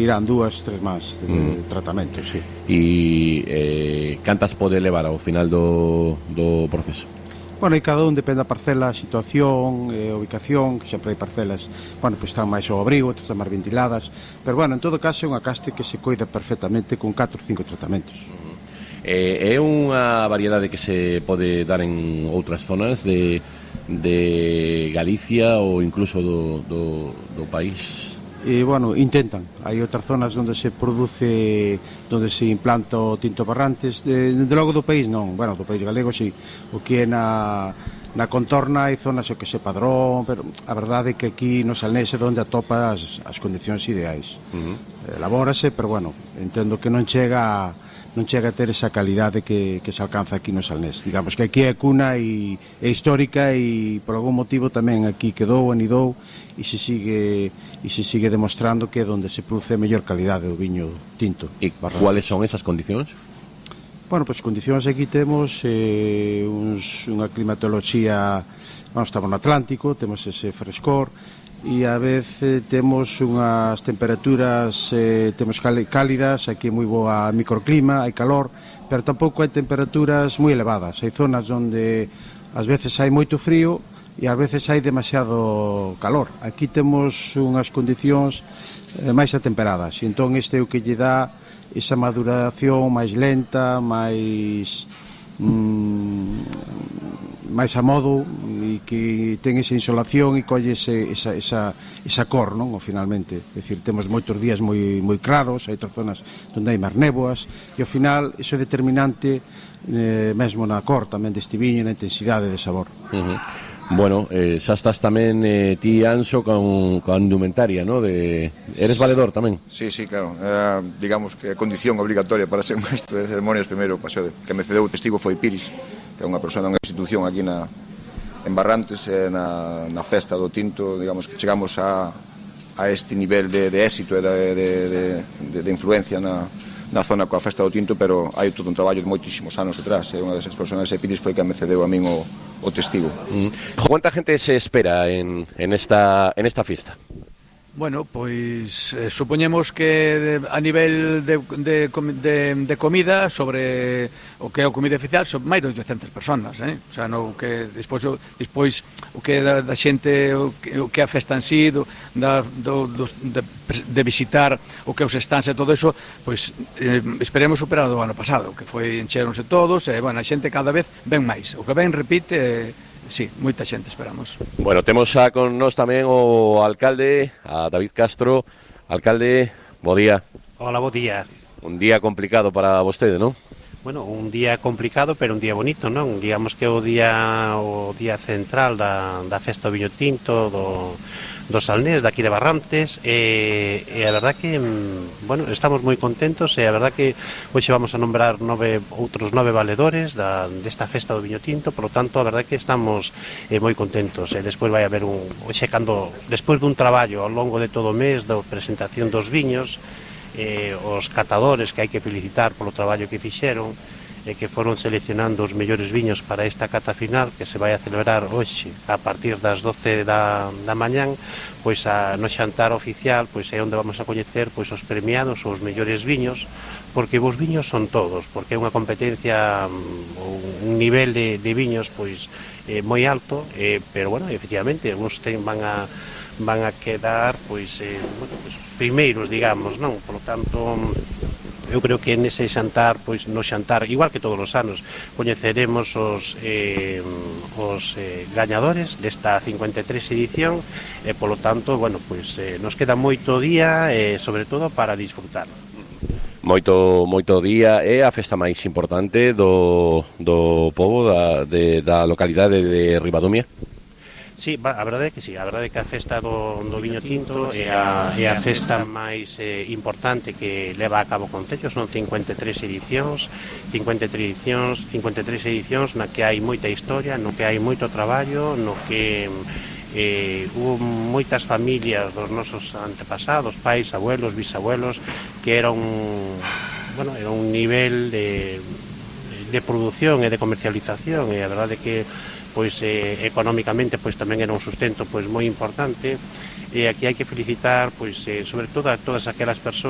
Irán 2, 3 máis de tratamento, sí. E cantas pode levar ao final do proceso? Bueno, e cada un depende da parcela, a situación, a ubicación, que sempre hai parcelas, bueno, pois están máis ao abrigo, outras están máis ventiladas, pero bueno, en todo caso é unha caste que se coida perfectamente con 4 ou 5 tratamentos. É unha variedade que se pode dar en outras zonas de Galicia ou incluso do país? E, bueno, intentan. Hai outras zonas onde se produce, onde se implanta o tinto Barrantes, de logo do país non, bueno, do país galego sí, o que é na contorna hai zonas o que se Padrón, pero a verdade é que aquí no Salnés é onde atopa as condicións ideais. Elabórase, pero bueno, entendo que non chega a ter esa calidade que se alcanza aquí no Salnés. Digamos que aquí é cuna e é histórica e por algún motivo tamén aquí quedou, anidou e se sigue demostrando que é onde se produce a mellor calidade do viño tinto. E cuáles son esas condicións? Bueno, pois condicións aquí temos unha climatoloxía, estamos no Atlántico, temos ese frescor e a vez temos unhas temperaturas temos cálidas, aquí é moi boa microclima, hai calor, pero tampouco hai temperaturas moi elevadas. Hai zonas onde ás veces hai moito frío e ás veces hai demasiado calor. Aquí temos unhas condicións máis atemperadas e entón este é o que lle dá esa maduración máis lenta, máis a modo e que ten esa insolación e colle esa cor, non? Ou finalmente, é dicir, temos moitos días moi claros, hai outras zonas onde hai máis néboas e ao final iso é determinante mesmo na cor tamén deste viño e na intensidade de sabor. Bueno, xa estás tamén ti, Anxo, con indumentaria, ¿no? Eres valedor tamén? Sí, claro. Digamos que a condición obligatoria para ser maestro de ceremonias primeiro paseo que me cedeu o testigo foi Piris, que é unha persona, unha institución aquí en Barrantes, na festa do tinto. Digamos que chegamos a este nivel de éxito e de influencia na zona coa festa do tinto, pero hai todo un traballo de moitísimos anos detrás. Unha desas personas, Piris, foi que me cedeu a min o testigo. ¿Cuánta gente se espera en esta fiesta? Bueno, pois supoñemos que a nivel de comida, sobre o que é a comida oficial, son máis de 800 personas, O sea, no que despois o que é da xente, o que é a festa en sí, de visitar o que os stands e todo eso, pois esperemos superar o ano pasado, que foi encheronse todos, e, bueno, a xente cada vez ven máis, o que ven repite. Sí, moita xente esperamos. Bueno, temos xa con nós tamén o alcalde, a David Castro. Alcalde, bo día. Hola, bo día. Un día complicado para vostede, non? Bueno, un día complicado, pero un día bonito, non? Digamos que o día central da festa do viño tinto, do Salnés, daqui de Barrantes, e a verdad que, bueno, estamos moi contentos, e a verdad que hoxe vamos a nombrar outros 9 valedores desta festa do viño tinto, por lo tanto, a verdad que estamos moi contentos, e despois vai haber despois dun traballo ao longo de todo o mes, da presentación dos viños, os catadores que hai que felicitar polo traballo que fixeron, e que foron seleccionando os mellores viños para esta cata final que se vai a celebrar hoxe a partir das 12 da mañán, pois no xantar oficial, pois é onde vamos a coñecer pois os premiados, os mellores viños, porque os viños son todos, porque é unha competencia, un nivel de viños pois moi alto, pero bueno, efectivamente, uns van a quedar pois primeiros, digamos, non? Por lo tanto, eu creo que nese xantar, pois no xantar, igual que todos os anos, coñeceremos os gañadores desta 53 edición, e polo tanto, bueno, pois nos queda moito día, sobre todo para disfrutar. Moito día, é a festa máis importante do pobo da localidade de Ribadumia? Sí, a verdade é que sí, a verdade é que a festa do viño tinto é a festa máis importante que leva a cabo o Concello. Son 53 edicións na que hai moita historia, no que hai moito traballo, no que hubo moitas familias dos nosos antepasados, pais, abuelos, bisabuelos, que era un nivel de produción e de comercialización, e a verdade é que pois económicamente pois tamén era un sustento pois moi importante, e aquí hai que felicitar, pois, sobre todo a todas aquelas persoas